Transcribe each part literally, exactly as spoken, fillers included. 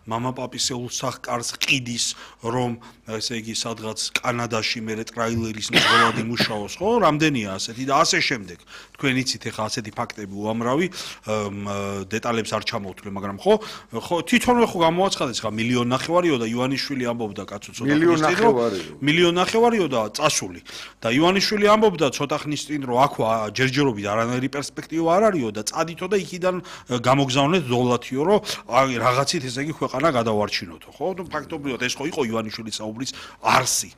მამა პაპისეულ სახკარს ყიდის რომ ესე იგი სადღაც კანადაში მე ტრაილერის ნებოლად იმუშაოს ხო რამდენია ასეთი და ასე შემდეგ თქვენ იცით ეხა ასეთი ფაქტები უამრავი დეტალებს არ ჩამოვთვლე მაგრამ ხო ხო თვითონვე ხო გამოაცხადეს ხა მილიონ ნახევარიო და ივანიშვილი ამბობდა კაცო ცოტა მილიონ ნახევარიო მილიონ ნახევარიო და წასული და ივანიშვილი ამბობდა ცოტა ხნის წინ რომ აქ ჯერჯერობით არანაირი პერსპექტივა არ არისო და წადითო და იქიდან გამოგზავნეთ დოლათიო რომ რაღაცით ესე იგი ქვეყანა გადავარჩინოთო ხო ну ფაქტობრივად ეს ხო იყო ივანიშვილის საუბრის არსი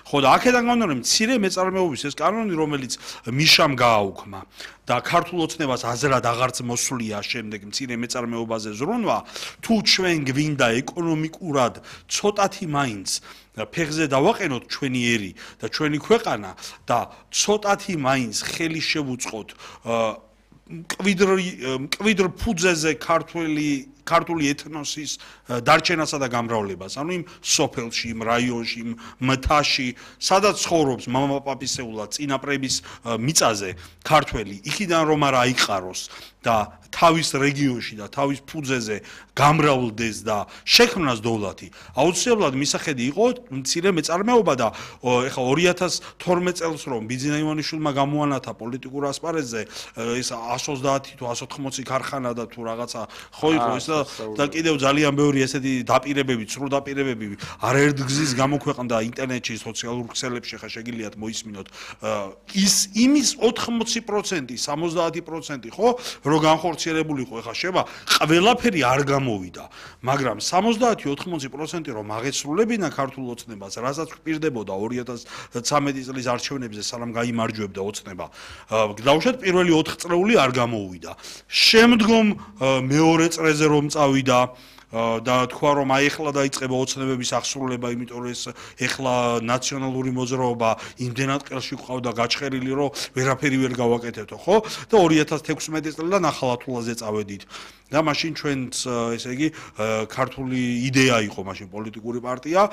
ხო და აქედან გამომდინარე მცირე მეწარმეობის ეს კანონი რომელიც მიშამ გააუქმა და ქართულ ოცნებას აზრად აღარც მოსვლია შემდეგ მცირე მეწარმეობაზე ზრუნვა თუ ჩვენ გვინდა ეკონომიკურად ცოტათი მაინც ფეხზე დავაყენოთ ჩვენი ერი და ჩვენი ქვეყანა და ცოტათი მაინც ხელი შევუწყოთ მკვიდრ მკვიდრ ფუძეზე ქართველი ქართული ეთნოსის დარჩენასა და გამრავლებას, ანუ იმ სოფელში, იმ რაიონში, იმ მთაში, სადაც ცხოვრობს მამა პაპისეულა წინაპრების მიწაზე ქართველი, იქიდან რომ არ აიყაროს და თავის რეგიონში და თავის ფუძეზე გამრავლდეს და შექმნას დოლათი. აუცილებლად მისახედი იყო მცირე მეწარმეობა და ეხა ორი ათას თორმეტ წელს რომ ბიძინა ივანიშვილმა გამოანათა პოლიტიკურ ასპარეზზე ეს εκατს ოცდაათი თუ εκατს ოთხმოცი ქარხანა და თუ რაღაცა ხო იყო ეს და კიდევ ძალიან ბევრი ესეთი დაპირებები, ცრუ დაპირებები არაერთ გზის გამოქვეყნდა ინტერნეტში, სოციალურ ქსელებში ხა შეგიძლიათ მოისმინოთ. ის იმის ოთხმოცი პროცენტი, სამოცდაათი პროცენტი ხო, რომ განხორციელებულიყო ეხა შევა, ყველაფერი არ გამოვიდა, მაგრამ სამოცდაათი ოთხმოცი პროცენტი რომ აღესრულებინა ქართულ ოცნებას, რასაც გვპირდებოდა ორი ათას ცხრამეტი წლის არჩევნებზე სანამ გაიმარჯვებდა ოცნება. დავუშვათ პირველი ოთხ წრეული არ გამოვიდა. შემდგომ მეორე წრეზე რომ წავიდა და თქვა რომ აი ეხლა დაიწყება ოცნებების აღსრულება, იმიტომ რომ ეს ეხლა ნაციონალური მოძრაობა იმდენად ყელში ყავდა გაჩხერილი, რომ ვერაფერი ვერ გავაკეთებთო, ხო? და ორი ათას თექვსმეტი წლიდან ახალათულაზე წავედით. და მაშინ ჩვენც ესე იგი ქართული იდეა იყო მაშინ პოლიტიკური პარტია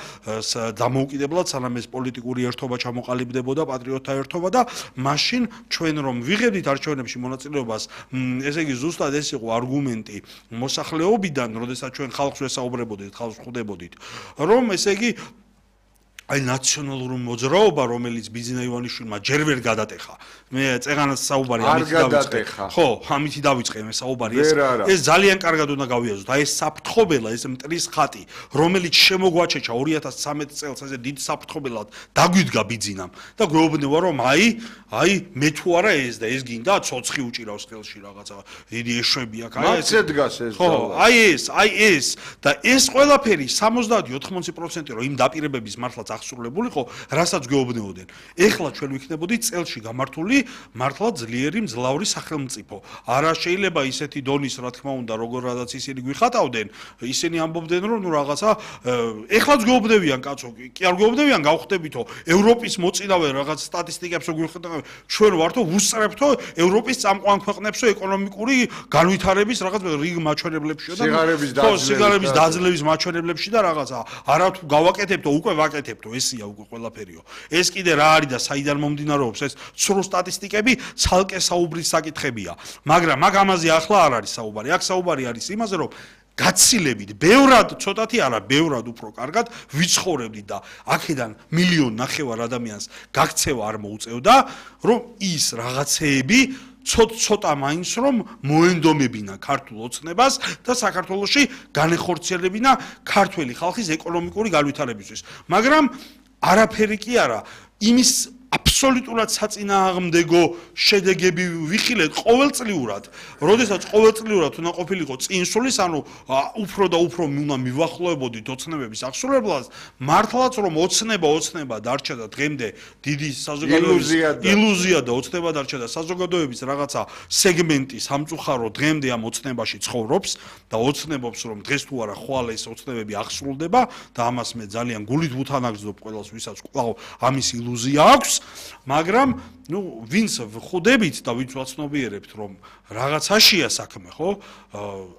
დამოუკიდებლად სანამ ეს პოლიტიკური ერთობა ჩამოყალიბდებოდა პატრიოტთა ერთობა და მაშინ ჩვენ რომ ვიღებდით არჩევნებში მონაწილეობას ესე იგი ზუსტად ეს იყო არგუმენტი მოსახლეობიდან როდესაც ჩვენ ხალხს ვესაუბრებოდით ხალხს ხვდებოდით რომ ესე იგი აი ნაციონალური მოძრაობა რომელიც ბიძინა ივანიშვილმა ჯერ ვერ გადატეხა მე წეღანას საუბარი ამით დავიწყე ხო ამით დავიწყე მე საუბარი ეს ეს ძალიან კარგად უნდა გავიაზროთ აი ეს საფრთხობელა ეს მტრის ხატი რომელიც შემოგვაჩეჩა ორი ათას ცხრამეტ წელს ესე დიდ საფრთხობელად დაგვიდგა ბიძინამ და გვეუბნება რომ აი აი მე თუ არა ეს და ეს გინდა ცოცხი უჭირავს ხელში რაღაცა დიდი ეშვები აქ აი ეს დგას ეს ხო აი ეს აი ეს და ეს ყველაფერი სამოცდაათი ოთხმოცი პროცენტი რომ იმ დაპირებების მართლაც აღსრულებულიყო, რასაც გვეუბნებოდნენ. ეხლა ჩვენ ვიქნებოდით წელში გამართული მართლა ძლიერი მძლავრი სახელმწიფო. არა შეიძლება ისეთი დონის, რა თქმა უნდა, როგორადაც ისინი გვიხატავდნენ, ისინი ამბობდნენ, რომ ნუ რაღაცა ეხლაც გვეუბნებიან, კაცო, კი არ გვეუბნებიან, გავხდებითო, ევროპის მოწინავე რაღაც სტატისტიკებს რო გვიხატავენ, ჩვენ ვართო ვუსწრებთო ევროპის წამყვან ქვეყნებსო ეკონომიკური განვითარების რაღაც რიგ მაჩვენებლებშიო და სიგარების დაძლევის მაჩვენებლებში და რაღაცა. არა თუ გავაკეთებთო, უკვე ვაკეთებთ ესია უკვე ყველაფერიო. ეს კიდე რა არის და საიდან მომდინარეობს ეს ცრუ სტატისტიკები, ცალკე საუბრის საკითხებია. მაგრამ მაგ ამაზე ახლა არ არის საუბარი. აქ საუბარი არის იმაზე, რომ გაცილებით, ბევრად, ცოტათი არა, ბევრად უფრო კარგად ვიცხოვრებდით და აქედან მილიონ ნახევარ ადამიანს გაქცევა არ მოუწევდა, რომ ის რაღაცეები ცოტა მაინც რომ მოენდომებინა ქართულ ოცნებას და საქართველოში განეხორციელებინა ქართველი ხალხის ეკონომიკური განვითარებისთვის. მაგრამ არაფერი კი არა, იმის აბსოლუტურად საწინააღმდეგო შედეგები ვიხილეთ ყოველწლიურად. როდესაც ყოველწლიურად უნდა ყოფილიყო წინსულის, ანუ უფრო და უფრო უნდა მივახლოვებოდით ოცნებების აღსრულებას, მართლაც რომ ოცნება ოცნება დარჩა და დღემდე დიდი საზოგადოების ილუზია და ოცნება დარჩა და საზოგადოების რაღაცა სეგმენტი სამწუხარო დღემდე ამ ოცნებაში ცხოვრობს და ოცნებობს რომ დღეს თუ არა ხვალ ეს ოცნებები აღსრულდება და ამას მე ძალიან გულით ვუთანაგზობ ყველას ვისაც კვლავ ამის ილუზია აქვს. მაგრამ ნუ ვინც ხვდებით და ვინც ვაცნობიერებთ რომ რაღაცაშია საქმე ხო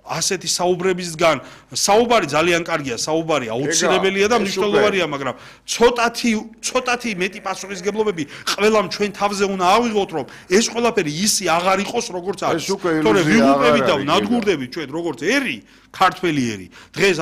ასეთი საუბრებისგან საუბარი ძალიან კარგია საუბარი აუცილებელია და მნიშვნელოვანია მაგრამ ცოტათი ცოტათი მეტი პასუხისგებლობები ყველამ ჩვენ თავზე უნდა ავიღოთ რომ ეს ყველაფერი ისი აღარ იყოს როგორც არის თორე ვიღუპებით და ვნადგურდებით ჩვენ როგორც ერი ქართველი ერი დღეს